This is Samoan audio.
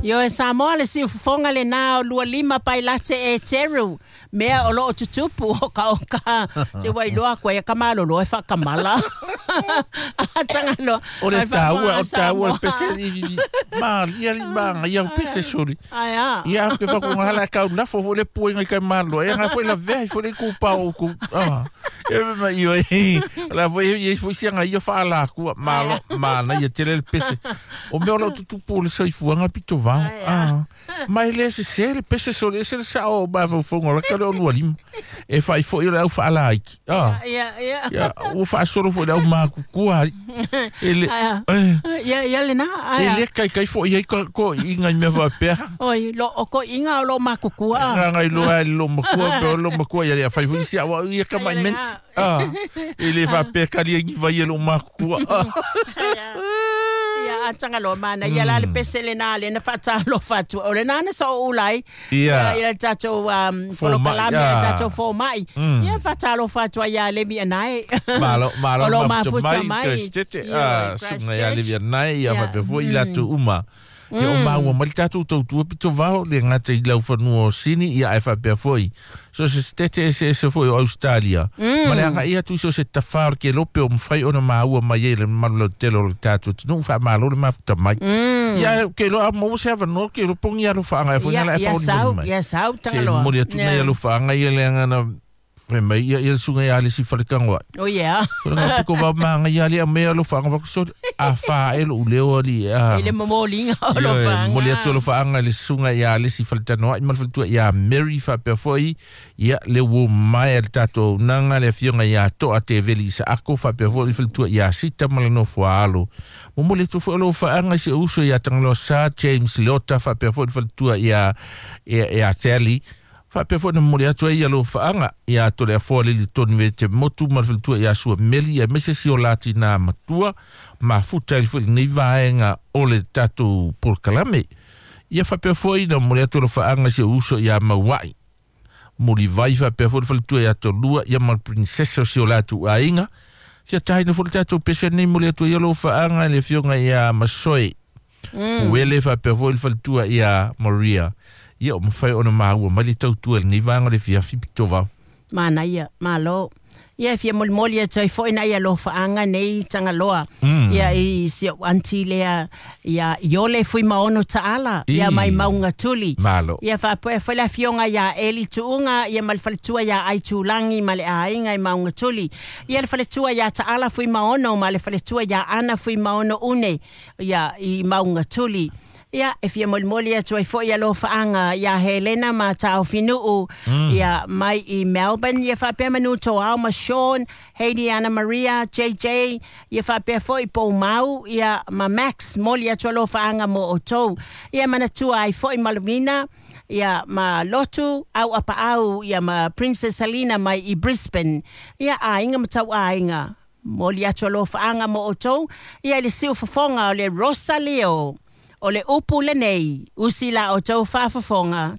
Ioe Samoa le siufofoga lenā o 25 Pailate Eteru mea o loo tutupu o ka o ka se ua iloa atu ai ka malolo e faakamala Tagaloa O le taua, o le taua le pese i ma ia li ma ia pese sori. Ai a. Ia ke fa ko ngala ka la fo le pue ngai kai malo. E nga foi la ve foi le ku pa o ku. Ah. E ma io e la foi e foi sia ngai fa la ku malo ma na ia tele le pese. O mea o lau tutupu o le soifuaga pitovao. Ah. Ma e le sesē le pese sole ese le sao o mafaufauga o laka lea o 25. E faaifoʻi o le au faalaiki. Ah. Ia, ia. Ia, ua faasolo foi le au makukua ai. E le, eh, Ia, ia lena. e le kaikai foi ai ko, ko inga i mea faapea. Oi, lo, o ko inga o lo makukua. Nga ngai loa e lo makua, pe o lo makua ia le fai foi si awa ia ka mai ment. Ah, e le faapea kali ai vai e lo makukua. Ah. Ia, a Tagaloa mana ia la le pese lena le na faatalofa atu. O lena na sa ou ula ai. Ia. Ia le tatou Fomai, polokalame a ah. tatou fomai. Ia faatalofa atu ai ia Levi Anae. Malo, malo O lo mafuta mafuta mai, mai. Christchurch, Ia, ah, suga ia Christchurch. Levi Anae, ia Ia. faapea foi i latou uma. Ia o maua mai le tatou tautua pitovao le gata i laufanua o Sini, ia ae faapea foi. So se setete eseese foi o Australia. Ma le agaʻi atu i so se tafā o le kelope o mafai ona maua mai ai le mamalu lautele o le tatou atunuu faamalo le mafuta mai. Ia ke iloa a maua se avanoa ke iloa pogi alofaaga e foi Ia, na la e ia faaulimauli sau, mai. ia sau Se Tagaloa. momoli atu nei alofaaga ia le agana fai mai ia ia le suga ia le si faletagoai. Oh yeah. So le piko va manga ia le mea alofaaga vakusoli a fa e lou leo ali a. I le momoliga o lo Ioe, faga. momoli atu alofaaga i le susuga ia Alesi Faletanoai ma le faletua ia Mary faapea foi ia le uō mai a le tatou auaunaga le afioga ia Toa Teveli Isaako faapea foi le faletua ia Sita ma le nofo a alo. Momoli atu foi alofaaga i si ou uso ia Tagaloa Sa James Leota faapea foi le faletua ia ia ia Sally faapea foi na momoli atu ai alofaaga ia Toleafoa Lili Toni Vete Motu ma le faletua ia Sua Meli aemaise si o latinā matua mafuta ai foi lenei vaega o le tatou polokalame. Ia faapea foi na momoli atu alofaaga i si ou uso ia Mauaʻi. Mulivai faapea foi le faletua ia Tolua ia ma le princesa o si o latou aiga. Fia taina foi le tatou pese nei momoli atu ai alofaaga i le afioga ia Masoe. Puele faapea foi le faletua ia Maria. Ia o mafai ona maua mai le tautua i lenei vaega o le fiafi pitovao. Manaia, malo. Ia e fia molimoli atu ai foi na ia alofaaga nei Tagaloa. Ia i si ou aunty lea ia Iole Fuimaono Taala ia I. mai Maunga Tuli. Malo. Ia faapea foi le afioga ia Eli Tuuga ia ma le faletua ia Aitulagi ma le aiga i Maunga Tuli. Ia le faletua ia Taala Fuimaono ma le faletua ia Ana Fuimaono Une ia i Maunga Tuli. Ia, e fia molimoli atu ai foi alofaaga ia Helena ma Taofinuu ia mai i Melbourne, ia faapea manu Toao ma Sean, Heidi Anna Maria, JJ, ia faapea foi Poumau, ia ma Max, moli atu alofaaga mo outou. Ia manatua ai foi Malvina, ia ma Lotu, au apaau, ia ma Princess Selina mai i Brisbane. Ia aiga ma tau aiga. Moli atu alofaaga mo outou, ia i le siufofoga o le Rosaleo. O le upu lenei, usi la outou faafofoga.